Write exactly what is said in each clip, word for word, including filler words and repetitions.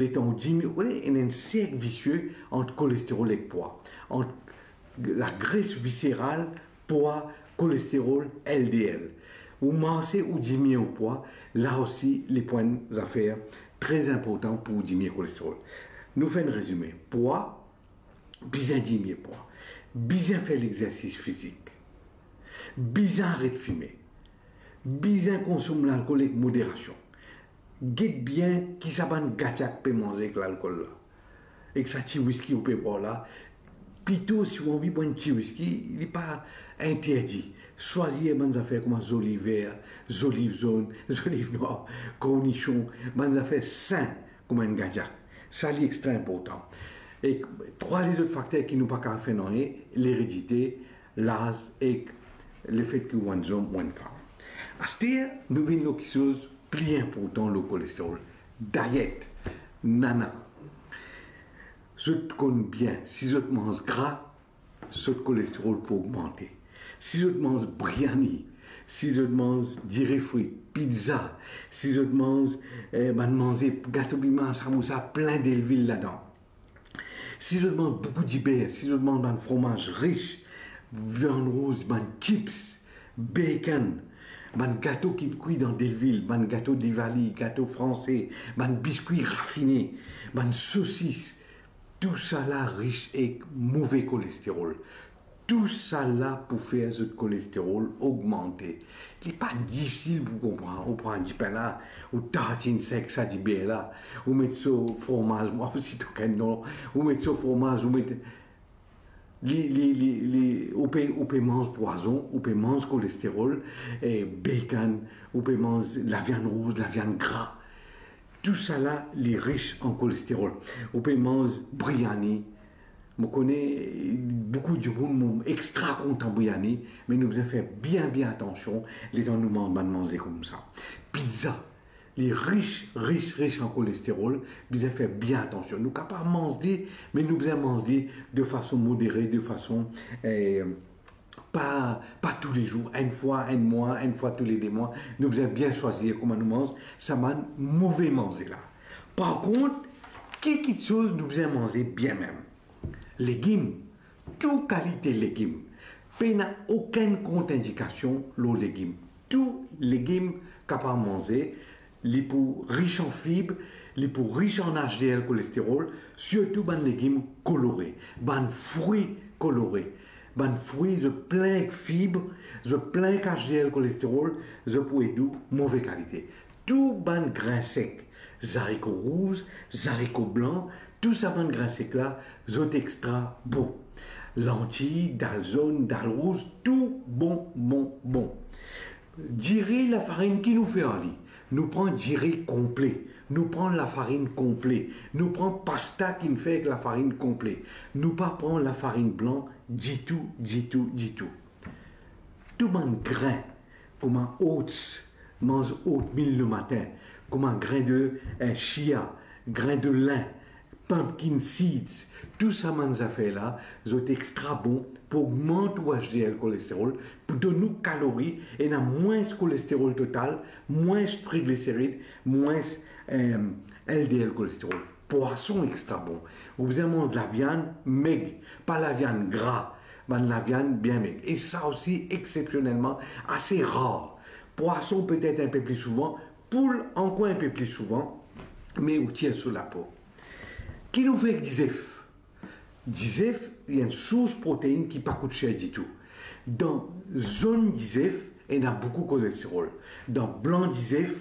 Letan ou dimine, ou ena enn serk visie ant kolesterol ek pwa, ant lagres viseral, pwa, kolesterol, L D L. Ou marse, ou dimine ou pwa, la osi, li pou enn zafer tre inportan pou dimine kolesterol. Nou fer enn rezime. Pwa, bizin dimine pwa, bizin fer lexersis fizik, bizin aret fime, bizin konsom lalkol ek moderasion. Get bien ki sa bann gagyak pe manze ek lalkol la, ek sa ti wiski ou pe bwar la. Plito, si ou anvi bwar enn ti wiski, li pa interdi. Swazir bann zafer kouma zoliv ver, zoliv zonn, zoliv nwar, kornision, bann zafer sin kouma enn gagyak. Sa li extra inportan. E trwa lezot fakter ki nou pa kapav fer nanye, leredite, laz ek lefet ki ou enn zom ou enn fam. Aster, nou vinn lor kiksoz pli inportan lor kolesterol. Dayet, nana. Zot konn bien, si zot manz gra, zot kolesterol pou ogmante. Si zot manz briani, si zot manz diri frit, pizza, si zot manz, eh, bann manze, gato pima, samousa, plin delvil ladan. Si zot manz boukou diber, si zot manz bann fromaz ris, viann rouz, bann chips, bacon, bann gato ki kwi dan delvil, bann gato Diwali, gato franse, bann biskwi rafine, bann sosis, tousala ris ek move kolesterol. Tousala pou fer zot kolesterol ogmante. Li pa difisil pou konpran. Ou pran dipin la, ou tartinn sa ek sa diber la, ou met so fromaz, mwa osi to kenn non, ou met so fromaz, ou met li, li, li, li, ou pe, ou pe manz pwazon, ou pe manz kolesterol, eh, bacon, ou pe manz laviann rouz, laviann gra. Tousala, li ris an kolesterol. Ou pe manz briani. Mo kone boukou dimoun, mo extra kontan briani, me nou bizin fer bien, bien atansion letan nou manz bann manze koumsa. Pizza, li ris, ris, ris an kolesterol, bizin fer bien atansion. Nou kapav manz li, me nou bizin manz li de fason modere, de fason, eh, pa, pa toulezour, enn fwa enn mwa, enn fwa toule de mwa. Nou bizin bien swazir kouma nou manz sa bann move manze la. Par kont, ki kiksoz nou bizin manze bien mem? Legim, tou kalite legim. Pena okenn kontrindikasion lor legim. Tou legim kapav manze, li pou ris an fib, li pou ris an H D L kolesterol, sirtou bann legim kolore, bann fri kolore. Bann fri, zot plin ek fib, zot plin ek H D L kolesterol, zot pou ed ou move kalite. Tou bann grin sek, zariko rouz, zariko blan, tou sa bann grin sek la, zot extra bon. Lanti, dal zonn, dal rouz, tou bon, bon, bon. Diri, lafarinn, ki nou fer ar li? Nou pran diri konple, nou pran lafarinn konple, nou pran pasta ki'nn fer ek lafarinn konple. Nou pa pran lafarinn blan ditou, ditou, ditou. Tou bann grin, kouma oats, manz oatmeal lematin, kouma grin de, eh, chia, grin de lin, pumpkin seeds, tou sa bann zafer la, zot extra bon pou ogmant ou H D L kolesterol, pou donn ou kalori, ena mwins kolesterol total, mwins trigliserid, mwins, eh, L D L kolesterol. Pwason extra bon. Ou bizin manz laviann meg, pa laviann gra, bann laviann bien meg. E sa osi, exsepsionelman, ase rar. Pwason petet inpe pli souvan, poul ankor inpe pli souvan, me ou tir so lapo. Ki nou fer ek dizef? Dizef, li enn sours protein ki pa kout ser ditou. Dan zonn dizef, ena boukou kolesterol. Dan blan dizef,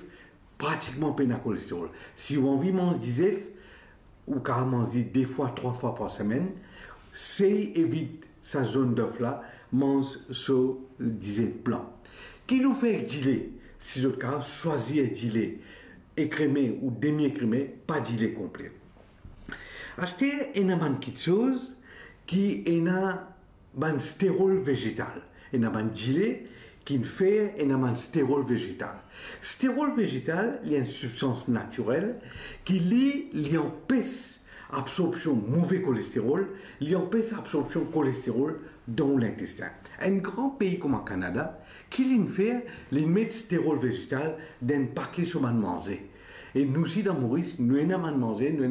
pratikman pena kolesterol. Si ou anvi manz dizef, ou kapav manz li de fwa, trwa fwa par semenn. Sey evit sa zonn dof la, manz so dizef blan. Ki nou fer ek dile? Si zot kapav, swazir dile ekreme ou demi ekreme, pa dile konple. Aster, ena bann kiksoz ki ena bann sterol vezetal. Ena bann dile ki'nn fer ena bann sterol vezetal. Sterol vezetal, li enn sibstans natirel ki li, li anpes absorpsion move kolesterol, li anpes absorpsion kolesterol dan ou lintestin. Enn gran pei kouma Kanada, ki li'nn fer, li'nn met sterol vezetal dan enn pake so bann manze. E nou si dan Moris, nou ena bann manze, nou ena